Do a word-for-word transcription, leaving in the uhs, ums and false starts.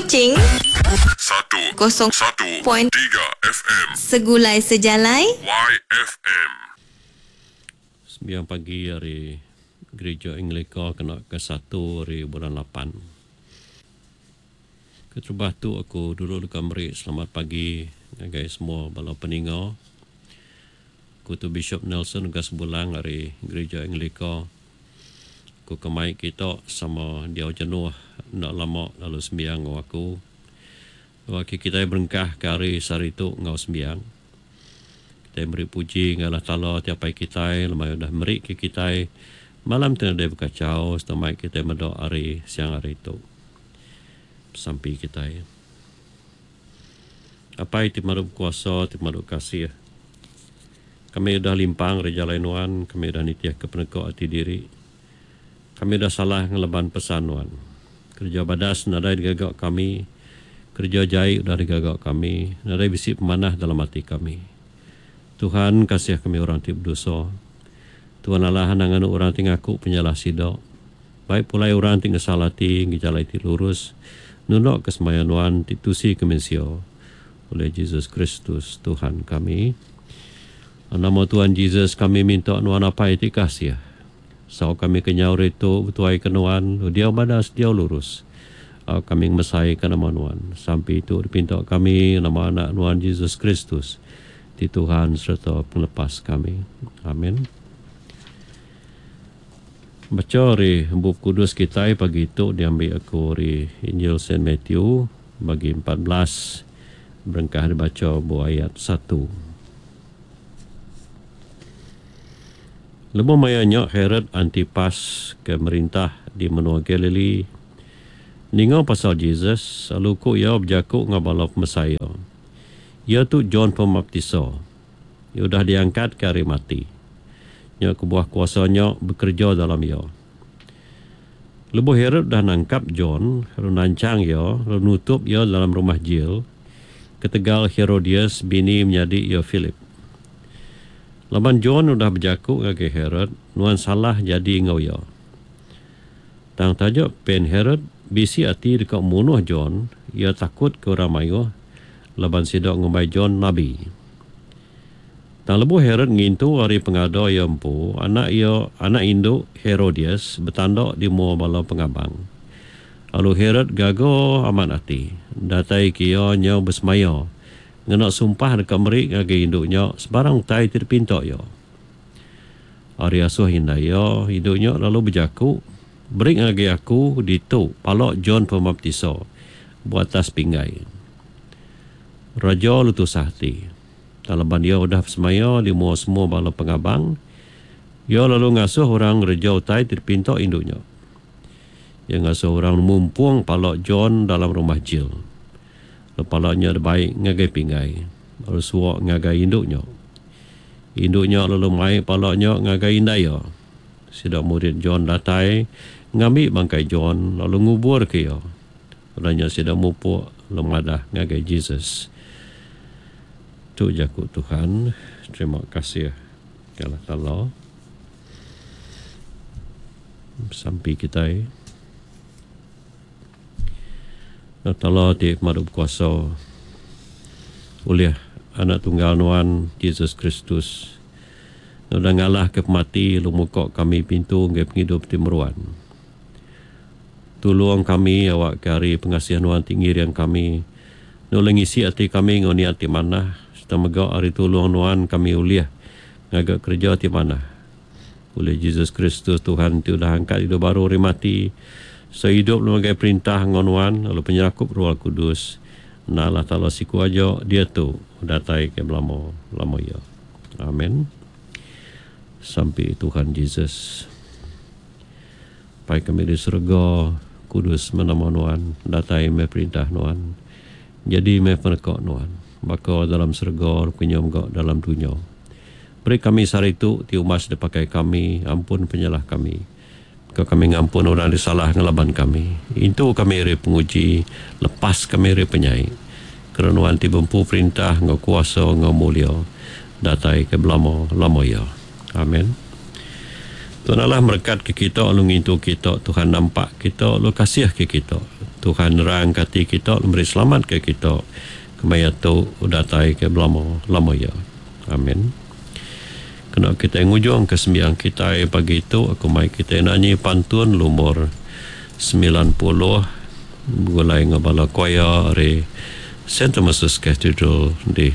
Kuching Satu kosong Satu point Tiga F M. Segulai Sejalai Y F M. Sembiang pagi ari Gereja Anglika kena ke satu ari bulan lapan. Keterubah tu aku dulu deka meri selamat pagi ngagai semua bala peninga. Aku tu Bishop Nelson Ugas Bulang ari Gereja Anglika. Aku kemai kita sama diau jenuh enda lama lalu sembiang enggau aku. Waktu kita berengkah ke hari sehari tu enggau sembiang. Kita beri puji ngagai Allah Taala tiap hari kita lemai udah meri ke kita malam tu nadai bekacau setemai kita meda hari siang hari tu. Sampi kita. Apai ti pemadu kuasa, ti pemadu kasih. Kami udah limpang ari jalai nuan, kami udah nitih ke peneka ati diri. Kami udah salah ngelaban pesan nuan. Kerja badas nadai digaga kami, kerja jai udah digaga kami, nadai bisi pemanah dalam ati kami. Tuhan, kasih kami orang ti berdosa. Tuhan Allah, anang nganu orang ti ngaku penyalah sida. Baik pulai orang ti ngesal ati ngi jalai ti lurus, nundok ke semaya nuan ti tusi ke mensia. Oleh Jesus Kristus Tuhan kami. Nama Tuhan Jesus kami minta nuan apai ti kasih. Sau kami kenyau itu betuai ke nuan, dia badas dia lurus. Au kami mesai ke nama nuan. Sampai itu dipinta kami nama anak nuan Jesus Kristus ti Tuhan serta penglepas kami. Amin. Baca ari Bup Kudus kita pagi itu diambil aku dari Injil Saint Matthew bagi empat belas berengkah dibaca bu ayat satu. Lebuh maya nya Herod Antipas ke merintah di menua Galilee ninga pasal Jesus, lalu ku iya bejaku ngau bala pemesai iya. "Iya tu John Pemaptisa. Iya udah diangkat ke ari mati. Nya kebuah kuasanya bekerja dalam iya." Lebuh Herod dah nangkap John, lalu nancang iya, lalu nutup iya dalam rumah jil, ketegal Herodias bini menyadi iya Philip. Laban John udah bejaku ngagai Herod, "Nuan salah jadi ngau iya." Tang taja pen Herod bisi ati deka munuh John, ia takut ke orang mayuh laban sida ngumbai John nabi. Tang lebuh Herod ngintu hari pengada iya empu, anak iya anak indu Herodias betanda di mua bala pengabang. Lalu Herod gaga amat ati, datai ke iya nyau besemaya ngena sumpah deka meri ngagai indu nya sebarang utai ti dipinta iya. Ari asuh indai iya, indu nya lalu bejaku, "Beri ngagai aku ditu pala John Pemaptisa buat atas pinggai." Raja lalu tusah ati. Laban dia udah besemaya di mua semua bala pengabang, ia lalu ngasuh orang ngereja utai ti dipinta indu nya. Ia ngasuh orang mumpung pala John dalam rumah jil. Lalu pala nya dibai ngagai pinggai, lalu suak ngagai indu nya. Indu nya lalu mai pala nya ngagai indai iya. Sida murid John datai ngambi bangkai John lalu ngubur ke iya. Udah nya sida mupuk lalu madah ngagai Jesus. Tu jaku Tuhan. Terima kasih ke Allah Taala. Sampi kita. Allah Taala ti pemadu kuasa, oleh anak tunggal nuan Jesus Kristus udah ngalah ke pemati lalu muka kami pintu ngagai pengidup ti meruan. Tulung kami awak ke hari pengasih nuan ti ngiring kami, nulung ngisi ati kami ngau niat ti manah, serta mega hari tulung nuan kami ulih ngaga kerja ti manah. Oleh Jesus Kristus Tuhan ti udah angkat hidup baru ari mati, so hidup ngagai perintah ngau nuan lalu penyerakup Roh Kudus. Na Allah Taala siku aja dia tu datai ke belama lama ya. Amin. Sampai Tuhan Jesus. Pai kami di surga, kudus meh nama nuan, datai meh perintah nuan. Jadi meh peneka nuan, baka dalam surga, rupanya juga dalam dunia. Beri kami sehari itu ti umas dipakai kami, ampun penyalah kami. Ke kami ngampun orang di salah ngelaban kami. Itu kami ari penguji, lepas kami ari penyai. Kerana nuan ti bempu perintah ngau kuasa ngau mulia datai ke belama lama ya. Amin. Tuhan Allah merekat ke kita lalu ngintu kita. Tuhan nampak kita lalu kasih ke kita. Tuhan nerangka ati kita lalu meri selamat ke kita kemaya tu datai ke belama lama iya. Amin. Kena kitai ngujungka sembiang kitai pagi tu aku mai kitai nanyi pantun lumur semilan puluh begulai enggau bala choir ari Saint Thomas's Cathedral di